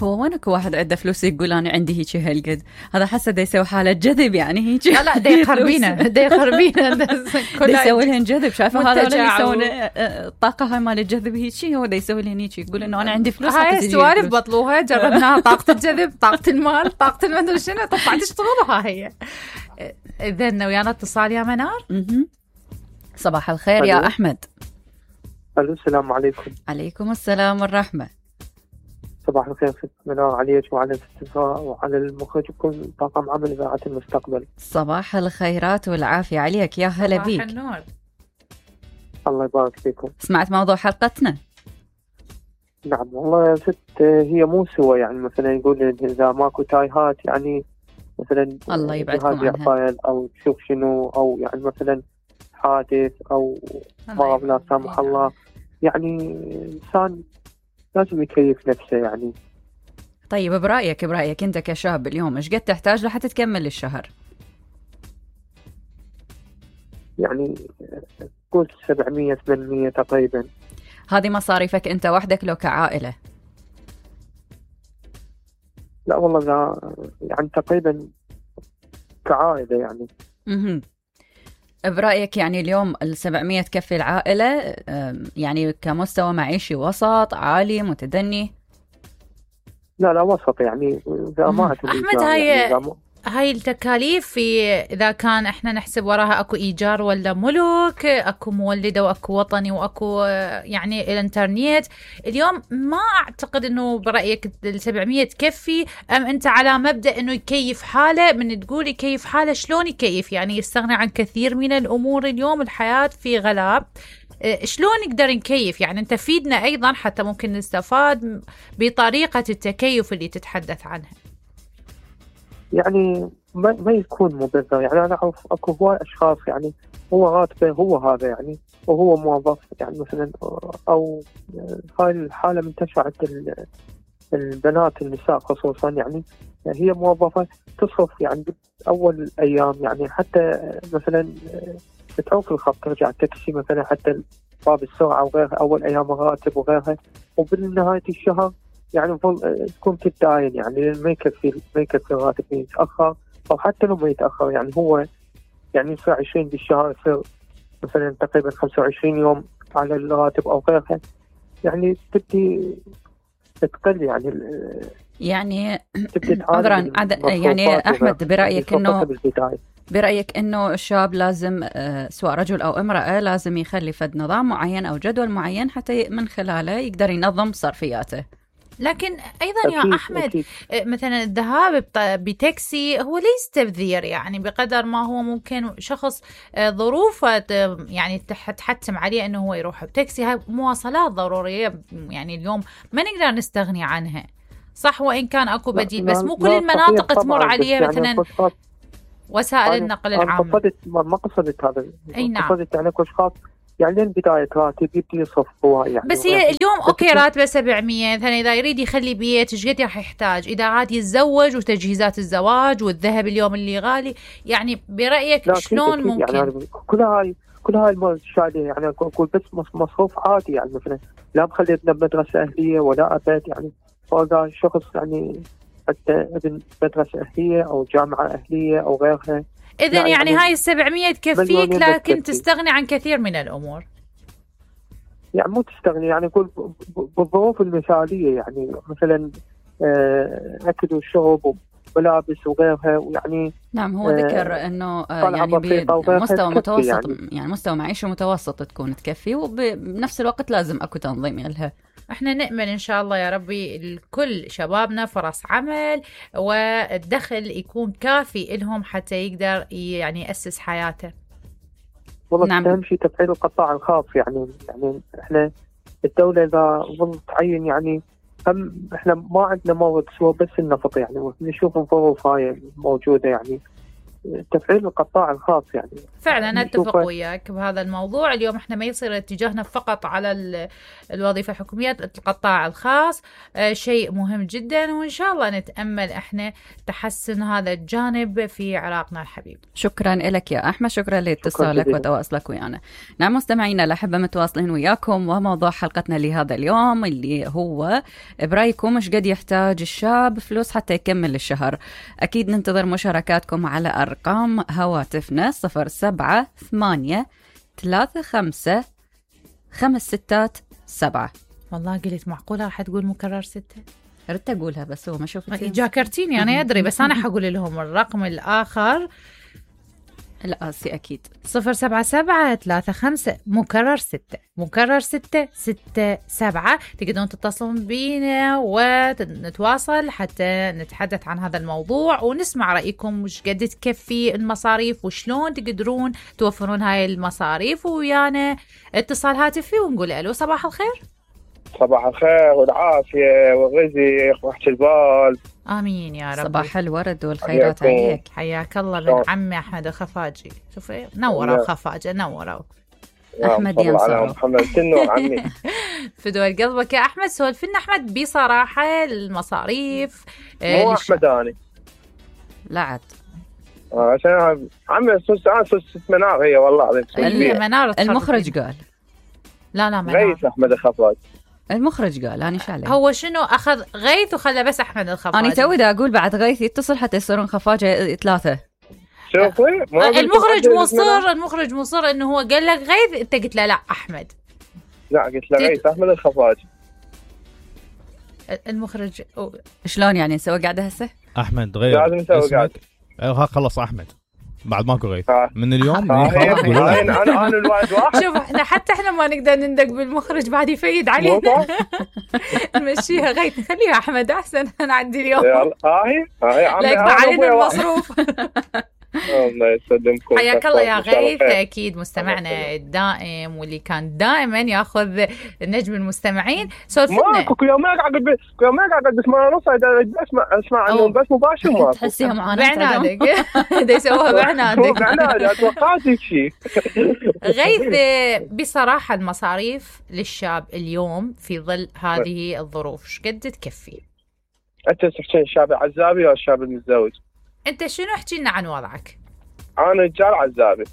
هو وين اكو واحد عنده فلوس يقول انا عندي هيك هالقد؟ هذا حسه دا يسوي حاله جذب يعني هيك. لا دا يخربينا دا يسوي لهن جذب. شايفه هذا اللي يسوون الطاقه هاي مال الجذب هيك، هو دا يسوي لهن هيك، يقول انه انا عندي فلوس. هاي السوالف بطلوها، جربناها، طاقه الجذب، طاقه المال، طاقه المدري شنو، طبعا تشتغلها هي. اذا ويانا اتصال يا منار. صباح الخير يا احمد. الو السلام عليكم. عليكم السلام والرحمه. صباح الخير ست منار، عليك وعلى الاستثمار وعلى المخرج وكل طاقم عمل إذاعة المستقبل. صباح الخيرات والعافية عليك، يا هلا بيك. صباح النور. الله يبارك فيكم. سمعت موضوع حلقتنا؟ نعم والله يا ست، هي مو سوى يعني مثلا يقول إذا ماكو تايهات يعني مثلا الله يبعدكم عنها أو تشوف شنو، أو يعني مثلا حادث أو مرض لا سامح الله، يعني إنسان لازم يكيف نفسه يعني. طيب برأيك أنت كشاب اليوم إيش قد تحتاج لحتى تكمل الشهر؟ يعني قول 700-800 تقريبا. هذه مصاريفك أنت وحدك لو كعائلة؟ لا والله لا، يعني تقريبا كعائلة يعني. برأيك يعني اليوم 700 تكفي العائلة يعني كمستوى معيشي وسط عالي متدني؟ لا وسط يعني. ما أحمد هاي التكاليف في إذا كان إحنا نحسب وراها أكو إيجار ولا ملك، أكو مولدة وأكو وطني وأكو يعني الإنترنت، اليوم ما أعتقد إنه برأيك 700 تكفي. أم أنت على مبدأ إنه يكيف حاله؟ من تقول يكيف حاله شلون يكيف؟ يعني يستغني عن كثير من الأمور. اليوم الحياة في غلاء، شلون نقدر نكيف؟ يعني أنت فيدنا أيضا حتى ممكن نستفاد بطريقة التكيف اللي تتحدث عنها. يعني ما يكون مبذر. يعني أنا أعرف أكو هواي أشخاص يعني هو راتبه هو هذا يعني، وهو موظف يعني مثلا، أو هاي الحالة منتشرة عند البنات النساء خصوصا، يعني هي موظفة تصرف يعني أول أيام يعني حتى مثلا بتعوق الخط ترجع تاكسي مثلا حتى باب السرعة وغيرها، أول أيام الراتب وغيرها، وبالنهاية الشهر يعني تكون تتداين يعني ما يكفي الراتب يتأخر، أو حتى لو ما يتأخر يعني هو يعني يصير 20 بالشهر، يصير مثلا تقريبا 25 يوم على الراتب أو غيرها، يعني تبدي تقل يعني عذرا يعني أحمد، برأيك إنه الشاب لازم سواء رجل أو امرأة لازم يخلي فد نظام معين أو جدول معين حتى من خلاله يقدر ينظم صرفياته. لكن أيضا يا أحمد مثلا الذهاب بتاكسي هو ليس تبذير، يعني بقدر ما هو ممكن شخص ظروفه يعني تحتم عليه أنه هو يروح بتاكسي. هاي مواصلات ضرورية يعني اليوم ما نقدر نستغني عنها، صح؟ وإن كان أكو بديل، بس مو كل المناطق تمر عليها مثلا وسائل النقل العام. ما قصدت هذا. أي نعم. قصدت يعني كل خاص يعني لين بداية راتب يبدي يصرف هو يعني. بس هي اليوم أوكي راتبه 700 مثلا، إذا يريد يخلي بيت إيش قد راح يحتاج؟ إذا عاد يتزوج وتجهيزات الزواج والذهب اليوم اللي غالي، يعني برأيك شلون ممكن؟ يعني كل هاي المشاهدة يعني أقول بس مصروف عادي يعني مثلا لا بخلي ابنه بمدرسة أهلية ولا أبد يعني، فإذا شخص يعني حتى ابن مدرسة أهلية أو جامعة أهلية أو غيرها. إذن يعني هاي 700 تكفيك، لكن تستغني عن كثير من الأمور. يعني مو تستغني، يعني أقول بالظروف المثالية يعني مثلا أكل وشرب وملابس وغيرها، ويعني نعم هو ذكر إنه يعني بمستوى متوسط يعني مستوى معيشة متوسط تكون تكفي، وبنفس الوقت لازم أكو تنظيم لها. احنا نأمل ان شاء الله يا ربي لكل شبابنا فرص عمل والدخل يكون كافي لهم حتى يقدر يعني يأسس حياته. والله نعم. أهم شيء تفعيل القطاع الخاص يعني احنا الدولة إذا ظلت تعين يعني احنا ما عندنا مورد سوى بس النفط يعني، نشوف الظروف هاي موجودة يعني تفعيل القطاع الخاص يعني. فعلا اتفق وياك بهذا الموضوع. اليوم احنا ما يصير اتجاهنا فقط على الوظيفة الحكومية، القطاع الخاص شيء مهم جدا، وان شاء الله نتأمل احنا تحسن هذا الجانب في عراقنا الحبيب. شكرا لك يا احمد، شكرا لاتصالك وتواصلك ويانا. نعم مستمعينا الأحبة متواصلين وياكم، وموضوع حلقتنا لهذا اليوم اللي هو برايكم ايش قد يحتاج الشاب فلوس حتى يكمل الشهر. اكيد ننتظر مشاركاتكم على ارقام هواتفنا 0784355667. والله قلت معقولة راح تقول مكرر 6؟ ردت أقولها بس هو ما شوفتها. جاكرتيني أنا أدري، بس أنا حقول لهم الرقم الآخر الآسي أكيد 07735 مكرر 6 مكرر 667. تقدرون تتصلون بينا ونتواصل حتى نتحدث عن هذا الموضوع ونسمع رأيكم وش قد تكفي المصاريف وشلون تقدرون توفرون هاي المصاريف. ويانا اتصال هاتفي ونقول ألو صباح الخير. صباح الخير والعافية والرزق وراحة البال. آمين يا رب. صباح الورد والخيرات عليك. حياك الله بن عمي أحمد الخفاجي. شوفي نوروا الخفاجة نوروا. أحمد ينصر محمد تنور عمي. فدوى قلبك يا أحمد. سولفنا أحمد بصراحة المصاريف. مو أحمد أنا لا عاد عشان عمي سوس منار هي والله. المنار المخرج قال لا غيث أحمد الخفاجي. المخرج قال أنا شو عليه. هو شنو أخذ غيث وخلى بس أحمد الخفاجي. أنا توي دا أقول بعد غيث يتصل حتى يصيرون خفاجة 3. شوفي المخرج مصر إنه هو قال لك غيث، أنت قلت له لا أحمد. لا قلت له غيث أحمد الخفاجي. المخرج شلون يعني نسوي قاعدة هسه؟ أحمد غير لازم نسوي قاعدة. ها خلص أحمد بعد ماكو غيث من اليوم. أنا الواحد واحد. شوف احنا ما نقدر نندق بالمخرج بعد يفيد علينا. نمشيها غيث خليها أحمد أحسن. أنا عندي اليوم هاي لا يقطع علينا المصروف. الله يسلمكم. حياك الله يا غيث. أكيد مستمعنا الدائم واللي كان دائما ياخذ نجم المستمعين. سولفنا كل يوم قاعد بس ما نص اسمع عنه بس مباشر ما تحسيها معاناة بعنادك. ده يسووها بعنادك. توقعتك شيء. غيث بصراحة المصاريف للشاب اليوم في ظل هذه الظروف ايش قد تكفي؟ انت تحكين الشاب العزابي او الشاب المتزوج؟ انت شنو احكي لنا عن وضعك؟ انا رجال عزابي.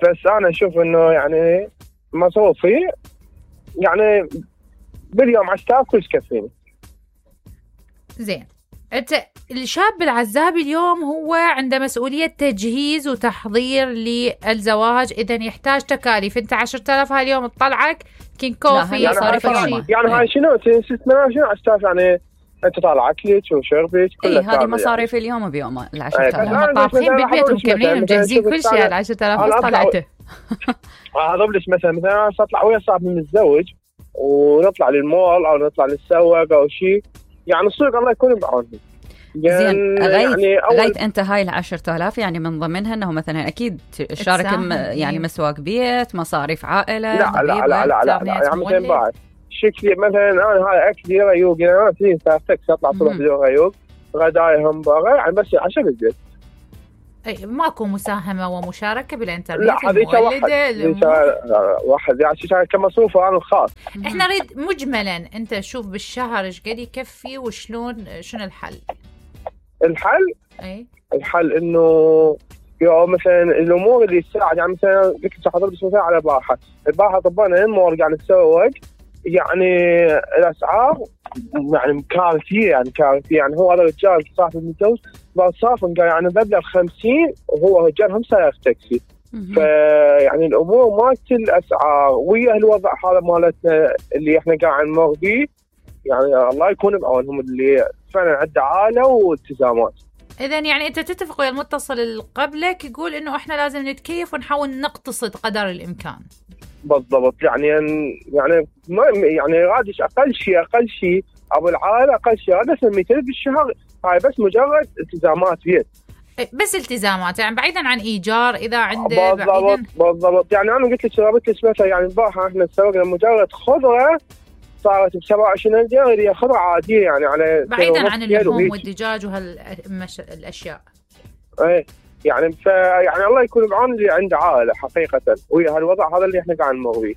بس انا اشوف انه يعني مصروفي يعني باليوم 10,000 كل يكفيني. زين انت الشاب العزابي اليوم هو عنده مسؤولية تجهيز وتحضير للزواج، اذا يحتاج تكاليف. انت 10,000 هاليوم تطلعك كين كوفي يعني هاي شنو 10,000 يعني انت طالع اكلك وشربك كلها. هذه مصاريف اليوم بيومها. 10,000 هم طابخين بالبيت ومكملين ومجهزين كل شيء. 10,000 بس طلعته. هذا بلش مثلا اطلع ويا صاحبي متزوج ونطلع للمول او نطلع للسوق او شيء، يعني السوق الله يكون بعونهم. زين غيث انت هاي 10,000 يعني من ضمنها انه مثلا اكيد شارك يعني مسواق بيت، مصاريف عائله. لا يعني مثلا بعد شكلي مثلا انا هاي اكلي ريوق، انا في ساعتك اطلع صبح بدون ريوق، غداي همبرجر يعني بس عشان البيت. اي ماكو مساهمه ومشاركه بالانترنت؟ لا هذيك واحد يعني كمصروف انا الخاص. احنا نريد مجملا انت شوف بالشهر ايش قد يكفي وشلون شنو الحل؟ الحل انه يوم مثلا الامور اللي تساعد، يعني مثلا قلت حضرتك مثلا على الباحه طبعنا المور قاعد نتسوق، يعني الاسعار يعني كارثيه يعني هو هذا الرجال صاحب المتجوز صافن قال يعني مبلغ 50 وهو رجال هم سائق تاكسي. فيعني الامور مالت الاسعار ويا الوضع هذا مالتنا اللي احنا قاعد نمر بيه، يعني الله يكون بعونهم اللي فعلا عنده عائله والتزامات. إذا يعني أنت تتفق ويا المتصل اللي قبلك يقول إنه إحنا لازم نتكيف ونحاول نقتصد قدر الإمكان. بالضبط. يعني ما يعني غادش أقل شيء أبو العائلة أقل شيء هذا 200 بالشهر، هاي بس مجرد التزامات بيت. بس التزامات يعني بعيدا عن إيجار إذا عنده بالضبط. يعني أنا قلت لك رابط مثلا يعني البارحة إحنا سوقنا مجرد خضرة صارت ب27 دينار اللي خضرة عادية يعني على بعيدا عن اللحوم والدجاج وهالأشياء. ايه يعني يعني الله يكون بعون اللي عنده عائله حقيقه ويا هالوضع هذا اللي احنا قاعد نمر فيه.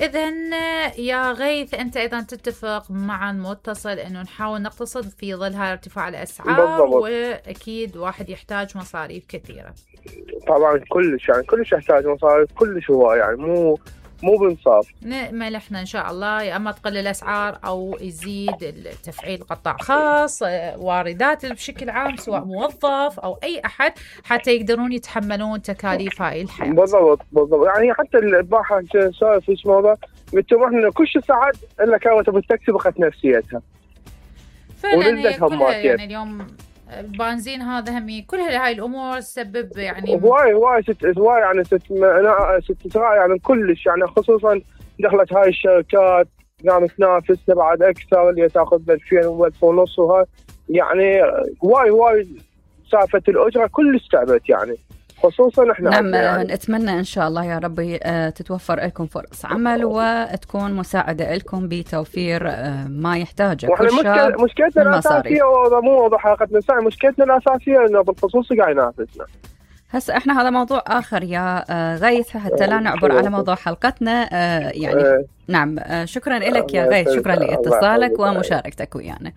إذن يا غيث أنت أيضا تتفق مع المتصل أنه نحاول نقتصد في ظل هاي ارتفاع الأسعار بالضبط. وأكيد واحد يحتاج مصاريف كثيرة. طبعا كلش يحتاج مصاريف كلش، هو يعني مو بانصاف. نأمل احنا ان شاء الله يا اما تقل الاسعار او يزيد التفعيل قطاع خاص، واردات بشكل عام سواء موظف او اي احد، حتى يقدرون يتحملون تكاليف هاي الحياه. بالضبط يعني حتى الباحه سالف في الموضوع قلت له احنا كل شيء صعد الا كانت بالتاكسي بقت نفسيتها فعلا يعني اليوم البنزين هذا همي كل هاي الامور تسبب يعني هواي يعني ست يعني كلش يعني، خصوصا دخلت هاي الشركات قامت تنافسنا بعد اكثر اللي تاخذ 2000 و1500 وهاي يعني هواي سالفه الاجره كلش تعبت يعني، خصوصا احنا نعم يعني. نتمنى ان شاء الله يا ربي تتوفر لكم فرص عمل وتكون مساعده لكم بتوفير ما يحتاجه كل شاب. مشكلتنا الاساسيه مو موضوع حلقتنا الساعه، مشكلتنا الاساسيه انه بالخصوص قاعد ينافسنا. هسه احنا هذا موضوع اخر يا غيث حتى لا نعبر على موضوع حلقتنا يعني. نعم شكرا لك يا غيث، شكرا لاتصالك ومشاركتك ويانا.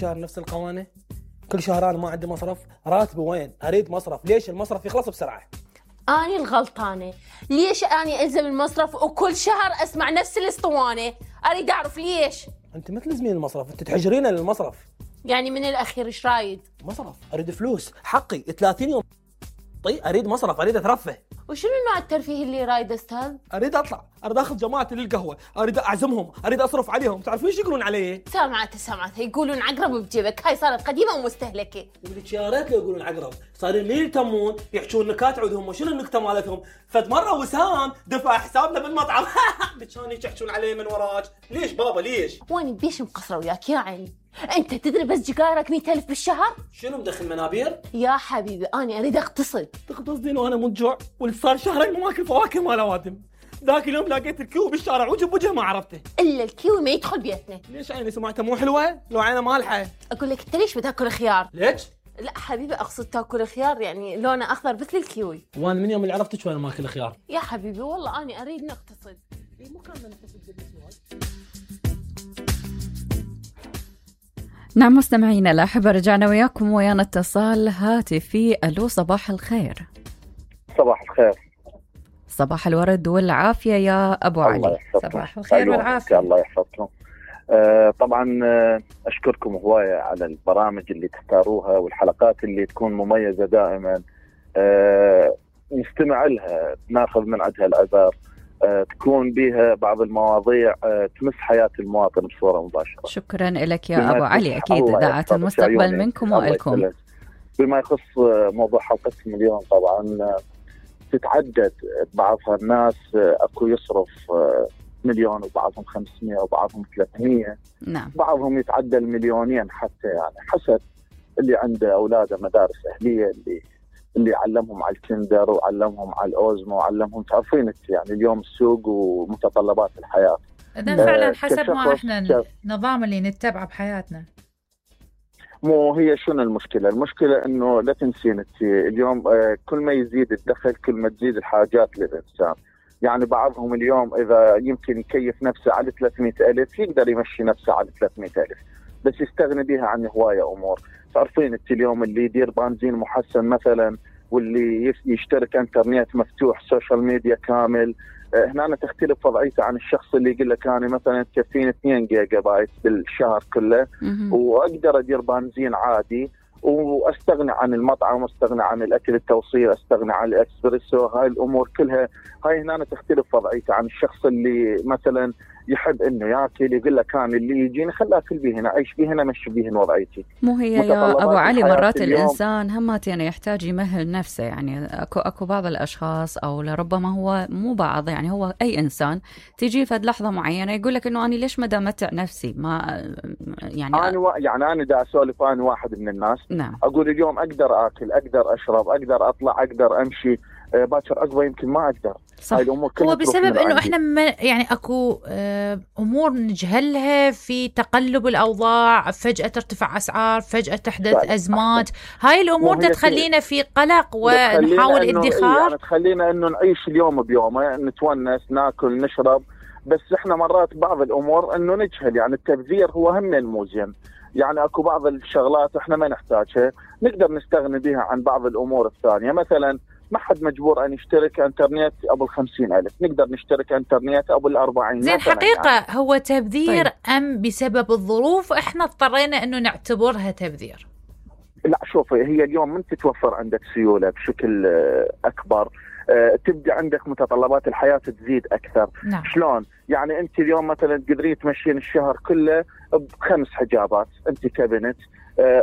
شهر نفس القوانين، كل شهر أنا ما عندي مصرف، راتبي وين؟ أريد مصرف، ليش المصرف يخلص بسرعة؟ أنا الغلطانة، ليش أنا ألزم المصرف وكل شهر أسمع نفس الاسطوانة؟ أريد أعرف ليش؟ أنت ما تلزمين المصرف، أنت تحجرين للمصرف. يعني من الأخير إيش رايد؟ مصرف، أريد فلوس، حقي 30 يوم طيب أريد مصرف، أريد أترفه. وشنو نوع الترفيه اللي رايد أستاذ؟ أريد أطلع، أريد أخذ جماعتي للقهوة، أريد أعزمهم، أريد أصرف عليهم، تعرفين ايش يقولون علي؟ سامعت يقولون عقرب بجيبك، هاي صارت قديمة ومستهلكة. ولك يا ريت لو يقولون عقرب، صارين لي يتمون يحشون نكات عودهم، وشنو النكتة مالتهم؟ فد مرة وسام دفع حسابنا بالمطعم كانوا يحشون علي من وراك، ليش بابا ليش؟ واني بيش مقصرة وياك يا عيني، انت تدري بس جيجارك 100,000 بالشهر؟ شنو مدخل منابير؟ يا حبيبي انا اريد اقتصد. تقتصدين وانا مجوع، واللي صار شهرين ما اكل فواكه مال اوادم. ذاك اليوم لقيت الكيوي بالشارع وجه بوجه ما عرفته. الا الكيوي ما يدخل بيتنا. ليش عيني سمعتها مو حلوه؟ لو عينه مالحه. اقول لك انت ليش بتاكل خيار؟ ليش؟ لا حبيبي اقصد تاكل خيار يعني لونه اخضر مثل الكيوي. وانا من يوم اللي عرفتك وانا ما اكل خيار. يا حبيبي والله انا اريد نقتصد. مو كان نقتصد بالنسبه. نعم مستمعينا الأحبة، رجعنا وياكم ويانا اتصال هاتفي. ألو صباح الخير. صباح الخير. صباح الورد والعافية يا أبو علي. صباح الخير والعافية. الله يحفظكم. طبعا أشكركم هواية على البرامج اللي تختاروها والحلقات اللي تكون مميزة دائما، نستمع لها ناخذ من عندها العبر، تكون بها بعض المواضيع تمس حياة المواطن بصورة مباشرة. شكرا لك يا أبو علي، أكيد إذاعة المستقبل منكم وإلكم. بما يخص موضوع حلقتكم اليوم، طبعا تتعدد بعضها الناس أكو يصرف 1,000,000 وبعضهم 500 وبعضهم 300. نعم. بعضهم يتعدى 2,000,000 حتى، يعني حسب اللي عنده أولاده مدارس أهلية، اللي علمهم على الكندر وعلمهم على الأوزمو وعلمهم، تعرفين يعني اليوم السوق ومتطلبات الحياة. إذا فعلا حسب ما احنا النظام اللي نتبعه بحياتنا. مو هي شنو المشكلة؟ المشكلة انه لا تنسين اليوم كل ما يزيد الدخل كل ما تزيد الحاجات للإنسان. يعني بعضهم اليوم إذا يمكن يكيف نفسه على 300,000 يقدر يمشي نفسه على 300,000، بس يستغني بها عن هواية أمور. تعرفين انت اليوم اللي يدير بنزين محسن مثلا، واللي يشترك انترنت مفتوح، سوشيال ميديا كامل، هنا تختلف وضعيته عن الشخص اللي يقول لك انا مثلا تكفيني 2 جيجا بايت بالشهر كله واقدر ادير بنزين عادي واستغني عن المطعم، واستغني عن الاكل التوصيل، استغني عن الاكسبريسو. هاي الامور كلها هاي هنا تختلف وضعيته عن الشخص اللي مثلا يحب انه ياكل، يقول لك انا اللي يجيني خلاه اكل بيه هنا، اعيش بيه هنا، مشي بيه وضعيتي. مو هي يا ابو علي مرات الانسان همات يعني يحتاج يمهل نفسه، يعني اكو بعض الاشخاص او لربما هو مو بعض، يعني هو اي انسان تيجي فد لحظه معينه يقول لك انه انا ليش ما امتع نفسي، ما يعني انا دا اسولف، انا واحد من الناس. نعم. اقول اليوم اقدر اكل، اقدر اشرب، اقدر اطلع، اقدر امشي، باكر عقبه يمكن ما اقدر. صح. هو بسبب انه احنا يعني اكو امور نجهلها في تقلب الاوضاع، فجأة ترتفع اسعار، فجأة تحدث ازمات، هاي الامور تخلينا في قلق ونحاول ادخار، يعني تخلينا انه نعيش اليوم بيومه، نتونس، ناكل، نشرب، بس احنا مرات بعض الامور انه نجهل. يعني التبذير هو هم الموزين، يعني اكو بعض الشغلات احنا ما نحتاجها نقدر نستغني بها عن بعض الامور الثانيه. مثلا ما حد مجبور ان يشترك انترنت ابو 50,000، نقدر نشترك انترنت ابو 40. زين حقيقه يعني هو تبذير طيب. ام بسبب الظروف احنا اضطرينا انه نعتبرها تبذير؟ لا شوفي، هي اليوم من تتوفر عندك سيوله بشكل اكبر، تبدأ عندك متطلبات الحياة تزيد أكثر. نعم. شلون؟ يعني أنت اليوم مثلا تقدرين تمشين الشهر كله ب5 حجابات أنت كبنت،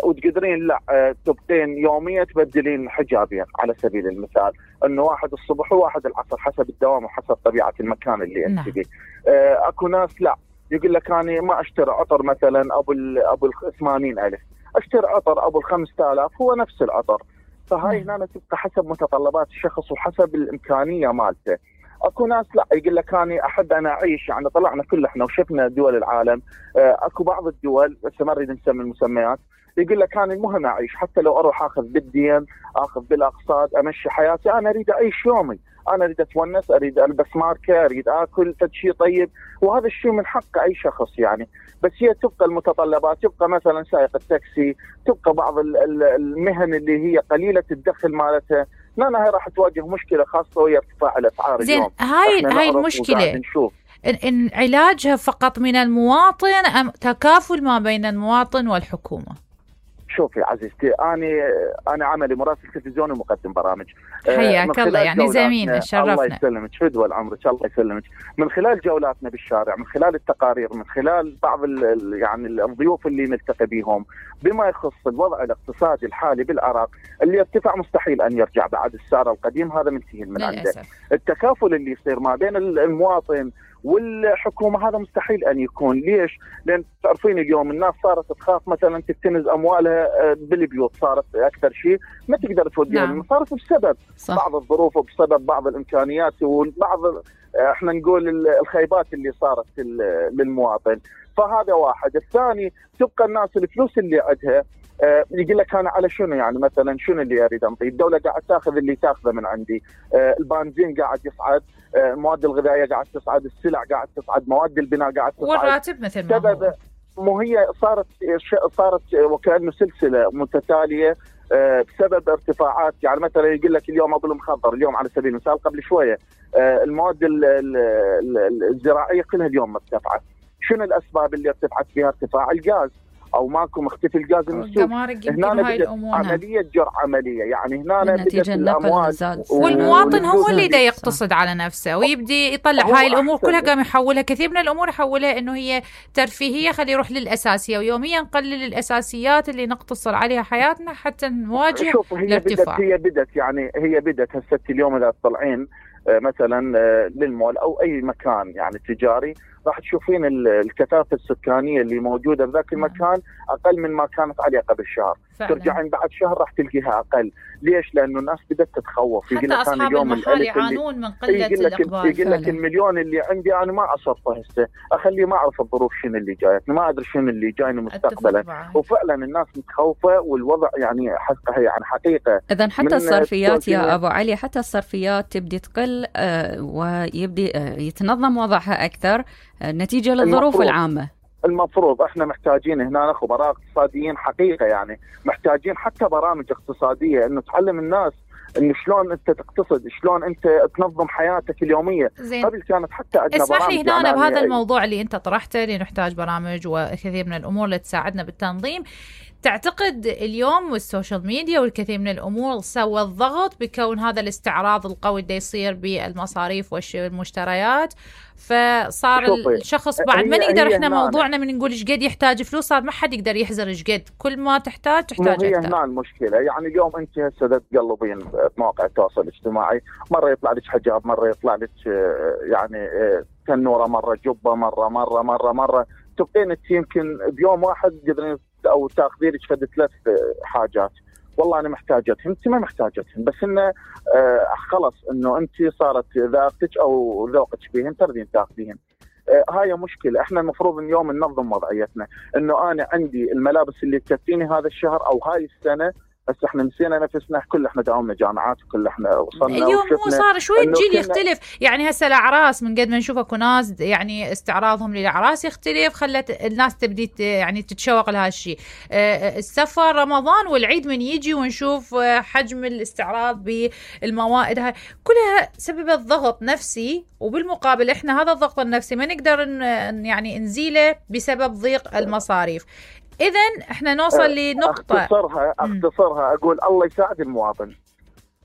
وتقدرين لا تبقين يوميا تبدلين حجابين على سبيل المثال، انه واحد الصبح وواحد العصر حسب الدوام وحسب طبيعة المكان اللي انت فيه. اكو ناس لا يقول لك انا ما اشتري عطر مثلا ابو 80,000، اشتري عطر ابو 5,000 هو نفس العطر. فهاي هنا تبقى حسب متطلبات الشخص وحسب الامكانية مالته. اكو ناس لا يقول لك انا احب انا اعيش، يعني طلعنا كل احنا وشفنا دول العالم، اكو بعض الدول بس ما نريد نسمي المسميات، يقول لك انا المهم اعيش، حتى لو اروح اخذ بالدين، اخذ بالاقساط، امشي حياتي، انا اريد اعيش يومي، انا اريد اتونس، اريد البس ماركه، اريد اكل شيء طيب، وهذا الشيء من حق اي شخص يعني. بس هي تبقى المتطلبات، تبقى مثلا سائق التاكسي، تبقى بعض المهن اللي هي قليله الدخل مالتها، لا هي راح تواجه مشكله خاصه وهي ارتفاع الاسعار. زين اليوم هاي المشكله إن علاجها فقط من المواطن ام تكافل ما بين المواطن والحكومه؟ شوفي عزيزتي، انا عملي مراسل تلفزيوني ومقدم برامج. حياك الله، يعني زميل شرفنا. الله يسلمك، فدوى العمر، الله يسلمك. من خلال جولاتنا بالشارع، من خلال التقارير، من خلال بعض يعني الضيوف اللي نلتقي بهم بما يخص الوضع الاقتصادي الحالي بالعراق، اللي ارتفع مستحيل ان يرجع بعد السعر القديم، هذا منتهي من عنده. التكافل اللي يصير ما بين المواطن والحكومة هذا مستحيل أن يكون. ليش؟ لأن تعرفين اليوم الناس صارت تخاف مثلا تكتنز أموالها بالبيوت، صارت أكثر شيء ما تقدر توديها. نعم. صارت بسبب صح. بعض الظروف وبسبب بعض الإمكانيات وبعض احنا نقول الخيبات اللي صارت للمواطن. فهذا واحد. الثاني تبقى الناس الفلوس اللي عندها يقول لك انا على شنو، يعني مثلا شنو اللي اريد انطي؟ الدوله قاعد تاخذ اللي تاخذه من عندي، البنزين قاعد يصعد، المواد الغذائيه قاعد تصعد، السلع قاعد تصعد، مواد البناء قاعد تصعد، والراتب مثل ما هو. مو هي صارت وكانه سلسله متتاليه بسبب ارتفاعات. يعني مثلا يقول لك اليوم ابو المخضر، اليوم على سبيل المثال قبل شويه المواد الزراعيه كلها اليوم مرتفعه. شنو الاسباب اللي ارتفعت فيها؟ ارتفاع الغاز، او ماكو مختفي الغاز المسوق. هنا هاي عمليه جرعه عمليه، يعني هنا بدت الاموال والمواطن هو اللي دا يقتصد على نفسه ويبدي يطلع هاي الامور كلها، قام يحولها كثير من الامور يحولها انه هي ترفيهيه، خلي يروح للاساسيه، ويوميا نقلل الاساسيات اللي نقتصر عليها حياتنا حتى نواجه الارتفاع. هي بدت هسه اليوم اذا تطلعين مثلا للمول او اي مكان يعني تجاري، راح تشوفين الكثافه السكانيه اللي موجوده بذاك المكان اقل من ما كانت عليه قبل شهر. ترجعين بعد شهر راح تلقيها اقل. ليش؟ لانه الناس بدات تتخوف. حتى اصحاب المحال يعانون من قله الاقبال. يقول لك المليون اللي عندي انا ما اصرفه هسه، اخليه ما اعرف الظروف شنو اللي جايتني، ما ادري شنو اللي جايني مستقبلا. وفعلا الناس متخوفه والوضع يعني حقيقه. اذا حتى الصرفيات يا ابو علي، حتى الصرفيات تبدي تقل ويبدي يتنظم وضعها اكثر نتيجة للظروف العامة. المفروض احنا محتاجين هنا خبراء اقتصاديين حقيقة، يعني محتاجين حتى برامج اقتصادية انه تعلم الناس انه شلون انت تقتصد، شلون انت تنظم حياتك اليومية. قبل كانت حتى عندنا اسمح لي هنا بهذا الموضوع اللي انت طرحته، اللي نحتاج برامج وكثير من الامور اللي تساعدنا بالتنظيم. تعتقد اليوم والسوشيال ميديا والكثير من الأمور سوى الضغط بكون هذا الاستعراض القوي اللي يصير بالمصاريف والمشتريات، فصار الشخص بعد ما نقدر احنا موضوعنا من نقول ايش قد يحتاج فلوس، صار ما حد يقدر يحزر ايش قد، كل ما تحتاج اكثر. هي هنا المشكلة. يعني اليوم انت هسه تقلبين بمواقع التواصل الاجتماعي، مرة يطلع لك حجاب، مرة يطلع لك يعني تنورة، مرة جبة، مرة تبقين انت يمكن بيوم واحد تقدرين او تاخذي لك فد 3 حاجات، والله انا محتاجتهم، انت ما محتاجتهم، بس انه خلص انه انت صارت ذاقتك او ذوقك بهن ترضين تاخذيهن. هاي مشكله. احنا المفروض اليوم ننظم وضعيتنا، انه انا عندي الملابس اللي تكفيني هذا الشهر او هاي السنه. بس احنا نسينا نفسنا، كل احنا داومنا جامعات وكل احنا وصلنا اليوم مو صار شوي الجيل يختلف. يعني هسه الاعراس من قد ما نشوف اكو ناس يعني استعراضهم للاعراس يختلف، خلت الناس تبدي يعني تتشوق لهذا الشيء. السفر رمضان والعيد من يجي ونشوف حجم الاستعراض بالموائد هاي كلها سببت ضغط نفسي، وبالمقابل احنا هذا الضغط النفسي ما نقدر يعني نزيله بسبب ضيق المصاريف. إذن إحنا نوصل لنقطة أختصرها أقول الله يساعد المواطن،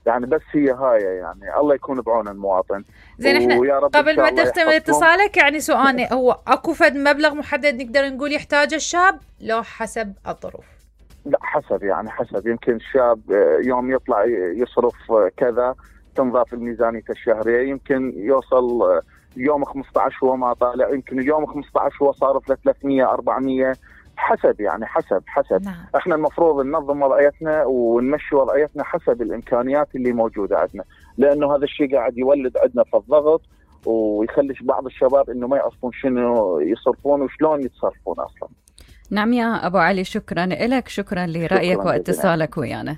يعني بس هي هاي، يعني الله يكون بعون المواطن. زين إحنا قبل ما تختم اتصالك يعني سؤالي هو أكو فد مبلغ محدد نقدر نقول يحتاجه الشاب لو حسب الظروف؟ لا حسب، يعني حسب. يمكن الشاب يوم يطلع يصرف كذا تنضاف الميزانية الشهرية، يمكن يوصل يوم 15 هو ما طالع، يمكن اليوم 15 هو صارف ل 300 400 حسب، يعني حسب. نعم. احنا المفروض ننظم وضعيتنا ونمشي وضعيتنا حسب الامكانيات اللي موجوده عندنا، لانه هذا الشيء قاعد يولد عندنا في الضغط ويخليش بعض الشباب انه ما يعرفون شنو يصرفون وشلون يتصرفون اصلا. نعم يا ابو علي، شكرا لك، شكرا لرايك واتصالك ويانا.